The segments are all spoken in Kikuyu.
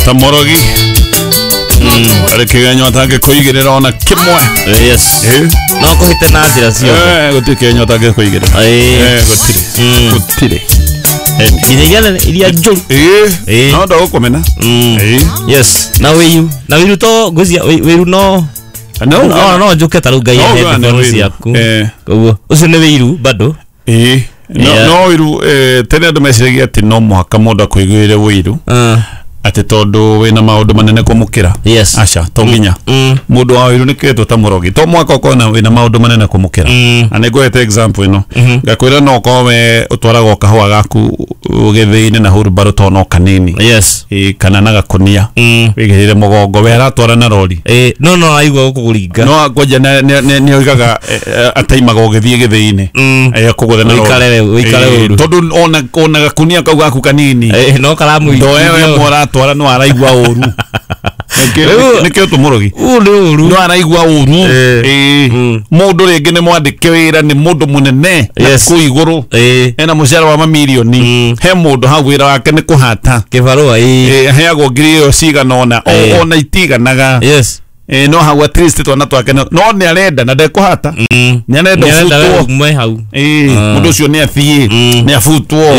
Ta mũrogi arĩ kĩgenyo atangĩkũigĩrĩra ona kĩmwe. Yes. No kũhĩte na njĩra ciothe. Gũtirĩ kĩgenyo atangĩkũigĩrĩra. Gũtirĩ. Gũtirĩ. Nginya iria nene, iria njũru. No ndagũkũmena. Yes, na wĩiru, na wĩiru to ngwĩciria wĩiru no No no no njũke ta rĩu ngai No headphones ũgane wĩiru. ciaku. Koguo ũcio nĩ wĩiru bado. No Yeah. no wĩiru, tene andũ meciragia atĩ no mũhaka mũndũ akũiguĩre wĩiru atĩ tondũ wĩna maũndũ manene kũmũkĩra. Aca, to nginya. Mũndũ wa wĩiru nĩ kĩetwo ta mũrogi, to mwaka ũkorwo na wĩna maũndũ manene kũmũkĩra. Na nĩ ngũhete example ĩno, ngakwĩra no ũkorwo we ũtwaraga o kahũa gaku gĩthĩi-inĩ na hurumbarũ to no kanini. Kana na gakũnia wĩigĩrĩre mũgongo, we aratwara na rori. No no aigua gũkũringa. No kwanja nĩ oigaga ataimaga ũgĩthiĩ gĩthĩi-inĩ. Akũgũthe na rori. Ũikare ũikare ũru. Tondũ ona gakunia kau gaku kanini No karamũigithia. Ndoe we mũratwara no araigua ũru. Nĩkĩo tũmũrogi. Ũũ nĩ ũru. No araigua ũru. Mũndũ rĩngĩ nĩ mwandĩke wĩra nĩ mũndũ mũnene na kũu igũrũ ena mũcara wa mamirioni. He mũndũ hau wĩra wake nĩ kũhata kĩbarũa. Aheagwo ngiri ĩyo cigana ũna, ona itiganaga. No hau at least twana twake no nĩ arenda na ndekũhata. Nĩ arenda Nĩ arenda ũbutwo. we ume hau. Mũndũ ũcio nĩ athiĩ nĩ abutwo.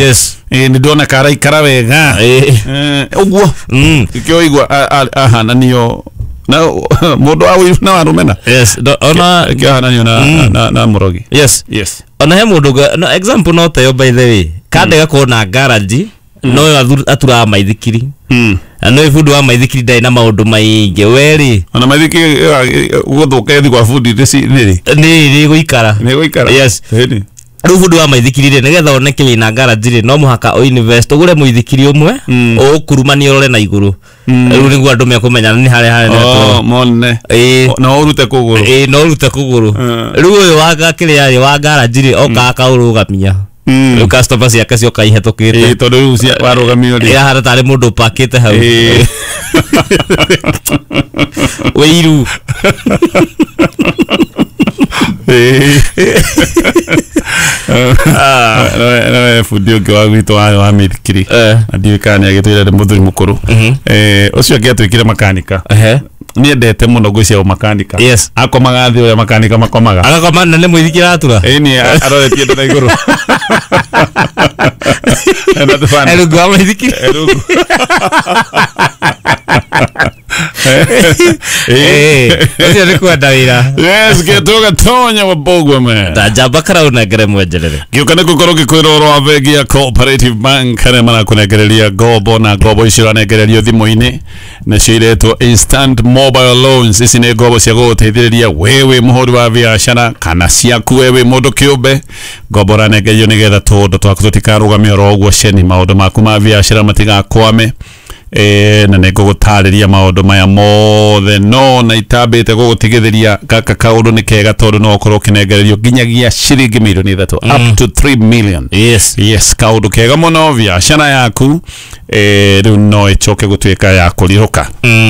Nĩ ndona karaikara wega. Ũguo nĩkĩo igua ahananio na mũndũ wa ũiru na wa rũmena. Yes. Ona Nĩkĩo ahananio na mũrogi. Yes. Yes. Ona he mũndũ no example no teyo by the way. Kande gakorwo na garage no yo aturaga maithikiri. Na no bundi wa maithikiri ndarĩ na maũndũ maingĩ we rĩ. Ona maithikiri gũthũka ĩthi kwa bundi nĩrĩ Nĩ gũikara. Nĩ gũikara. Yes. Ĩni. Rĩu bundi wa maithikiri rĩ, nĩgetha oneke wĩna garage rĩ, no mũhaka ũ invest ũgũre mũithikiri ũmwe ũũkurumanie ũrore na igũrũ. Rĩu nĩguo andũ mekũmenya nĩ harĩa harĩa Oh, mone. Na ũrute kũgũrũ. No ũrute kũgũrũ. Rĩu ũyũ wa kĩrĩa rĩ, wa garage rĩ, oka akaũrũgamia. Rĩu customer ciake cioka ihetũkĩte. Tondũ rĩu warũgamio rĩ. Ahana tarĩ mũndũ ũpakĩte hau. Wĩiru. Nowe bundi ũngĩ wa gwitũ wa mĩithikiri. Na ndiũĩ kana nĩ agĩtwĩra nĩ mũthuri mũkũrũ. Ũcio ũngĩ atuĩkire makanika. Nĩendete mũno ngwĩciria ũmakanika. Yes. Akomaga thĩ ũrĩa makanika makomaga. Agakoma na nĩ mũithikiri aratura. Ĩni aroretie nda na igũrũ. Ena tũbana. Rungu wa mũithikiri. Rungu. Ũcio nĩ kwenda wĩra. Yes, gĩtũga tonya wa Bogwe man. Ta njamba karaunengere mwenjerere. Gĩũka nĩ gũkorwo ngĩkwĩra ũhoro wa bengi ya Cooperative Bank arĩa marakũnengereria ngombo, na ngombo icio ũranengererio thimũ-inĩ nacio iretwo instant mobile loans. Ici nĩ ngombo cia gũgũteithĩrĩria we wĩ mũhũri wa biacara kana ciaku we wĩ mũndũ kĩũmbe. Ngombo ũranengererio nĩgetha tũũndũ twaku tũtikarũgame oro ũguo ceni, maũndũ maku ma biacara matigakwame. Na nĩ ngũgũtarĩria maũndũ maya mothe, no na itambĩte gũgũtigithĩria gaka kaũndũ nĩ kega tondũ no ũkorwo ũkĩnengererio nginyagia ciringi mirioni 3, up to 3 million. Yes. Yes, kaũndũ kega mũno biacara yaku rĩu no ĩcoke gũtuĩka ya kũrirũka.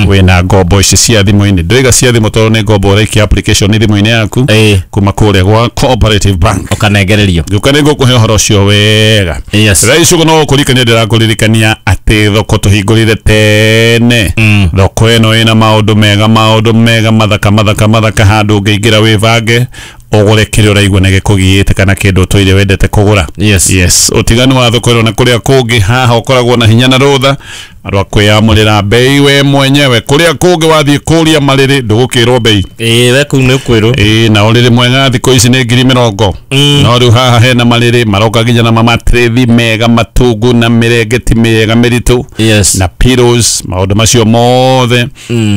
Wĩna ngombo ici cia thimũ-inĩ, ndĩraiga cia thimũ tondũ nĩ ngombo ũraikia application thimũ-inĩ yaku kuma kũrĩa gwa Cooperative Bank Ũkanengererio. Gĩũka nĩ ngũkũhe ũhoro ũcio wega. Yes. Thaa ici ũguo no gũkũririkania, ndĩrakũririkania atĩ thoko tũhingũrire tene. Thoko ĩno ĩna maũndũ mega, maũndũ mega mathaka mathaka mathaka, handũ ũngĩingĩra wĩbange ũgũre kĩrĩa ũraigua nĩ gĩkũgiĩte kana kĩndũ ũtũire wendete kũgũra. Yes. Yes, ũtiganu wa thoko ĩno na kũrĩa kũngĩ, haha ũkoragwo na hinya na rũtha rwa kwĩyamũrĩra bei we mwenyewe. Kũrĩa kũngĩ wathiĩ kũria marĩrĩ ndũgũkĩrwo bei. We kũu nĩ ũkwĩrwo. Na ũrĩrĩ mwega thikũ ici nĩ ngiri mĩrongo. No rĩu haha hena marĩrĩ maroka nginya na mamatrĩthi mega matungu na mĩrengeti mĩega mĩritũ. Yes. Na pillows, maũndũ macio mothe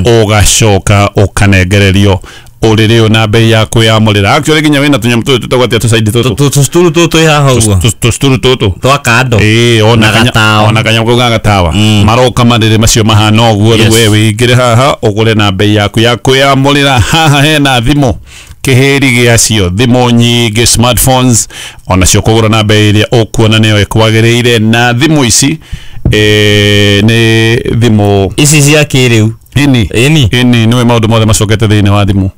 ũgacoka ũkanengererio ũrĩrĩ ũyũ na bei ya kwĩyamũrĩra. Actually nginya wĩna tũnyamũ tũtũ tũtagwo atĩa tũcaidi tũtũ? Tũcuturu tũtũ twĩ haha ũguo. Tũcuturu tũtũ. Twa kando. Ona Na gatawa. ona kanyamũ kau ga gatawa. Maroka marĩrĩ macio mahana ũguo, rĩu Yes. we wĩingĩre haha ũgũre na bei yaku ya kwĩyamũrĩra. Haha hena thimũ kĩhĩri gĩacio, thimũ nyingĩ smartphones onacio kũgũra na bei ĩrĩa ũkuona nĩyo ĩkwagĩrĩire. Na thimũ ici nĩ thimũ Ici cia kĩrĩu. Ĩni. Ĩni. Ĩni, nĩwe maũndũ mothe macokete thĩinĩ wa thimũ.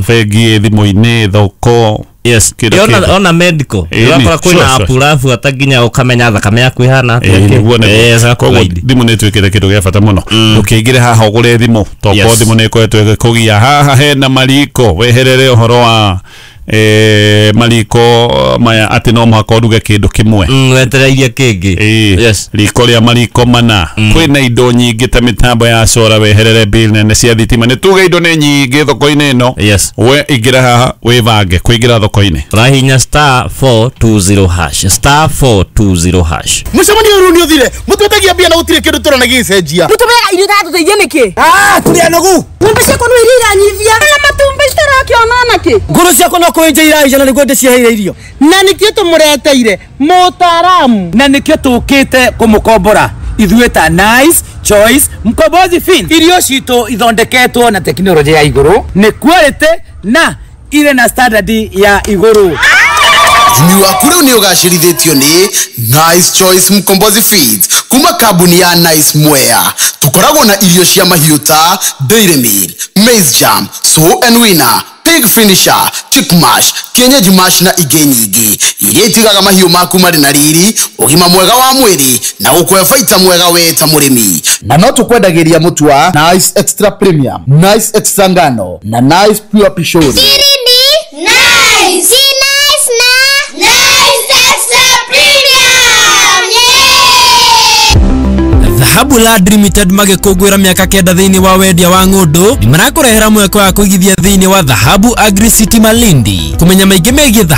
Bengi ĩ thimũ-inĩ, thoko Yes. Kĩndũ Ona kĩndũ. ona medical. Ĩni, Ũrakora kwĩna sure, app ũrabuata nginya ũkamenya thakame yaku ĩhana atĩa. Ĩĩ, nĩguo nĩguo. Yes, Koguo agakuguide. thimũ nĩ ĩtuĩkĩte kĩndũ gĩa bata mũno. Ndũkĩingĩre haha ũgũre thimũ, tokorwo Yes. thimũ nĩ ĩkoretwo ĩgĩkũgia. Haha hena mariko, weherere ũhoro wa mariko maya atĩ no mũhaka ũruge kĩndũ kĩmwe. Wetereirie kĩngĩ. Ĩĩ, Yes. riko rĩa mariko mana. Kwĩna indo nyingĩ ta mĩtambo ya cora, weherere bill nene cia thitima. Nĩ tuge indo nĩ nyingĩ thoko-inĩ ĩno. Yes. We ingĩra haha wĩbange kũingĩra thoko-inĩ. Ũrahihinya *420#, *420#. Mũcemanio ũyũ nĩ ũthire, mũtwetagia mbia na gũtirĩ kĩndũ tũrona gĩgĩcenjia. Mũtũmeaga irio itatũteithia nĩkĩ? Tũrĩ anogu. Ng'ombe ciakwa no iria iranyivia na matumbĩ citarakĩona nakĩ. Ngũrũ ciakwa no kũenja iraija na nĩguo ndĩciheire irio. Na nĩkĩo tũmũreteire mũtaaramu. Na nĩkĩo tũkĩte kũmũkombora ithuĩ ta Nice Choice Mkombozi Fin. Irio citũ ithondeketwo na tekinoronjĩ ya igũrũ, nĩ quality na irĩ na standard ya igũrũ. Ũrĩmi waku rĩu nĩ ũgacĩrithĩtio nĩ Nice Choice Mkombozi Feeds kuma kambuni ya Nice Mwea. Tũkoragwo na irio cia mahiũ ta Dairy Meal, Maize Jam, Sow and Winner, Pig Finisher, Chick Mash, Kienyeji Mash na ingĩ nyingĩ iria itigaga mahiũ maku marĩ na riri, ũgima mwega wa mwĩrĩ na gũkũhe baita mwega we ta mũrĩmi. Na no tũkwendagĩria mũtu wa Nice Extra Premium, Nice Extra Ngano na Nice Pure Pishori. Ni nice. Si nice na Nice Extra Premium. Yeah. Dhahabu Land Limited magĩkũngũĩra mĩaka 9 thĩinĩ wa wendia wa ng'ũndũ nĩ marakũrehera mweke wa kũigithia thĩinĩ wa Dhahabu Agri City Malindi. Kũmenya maingĩ megiĩ Dhahabu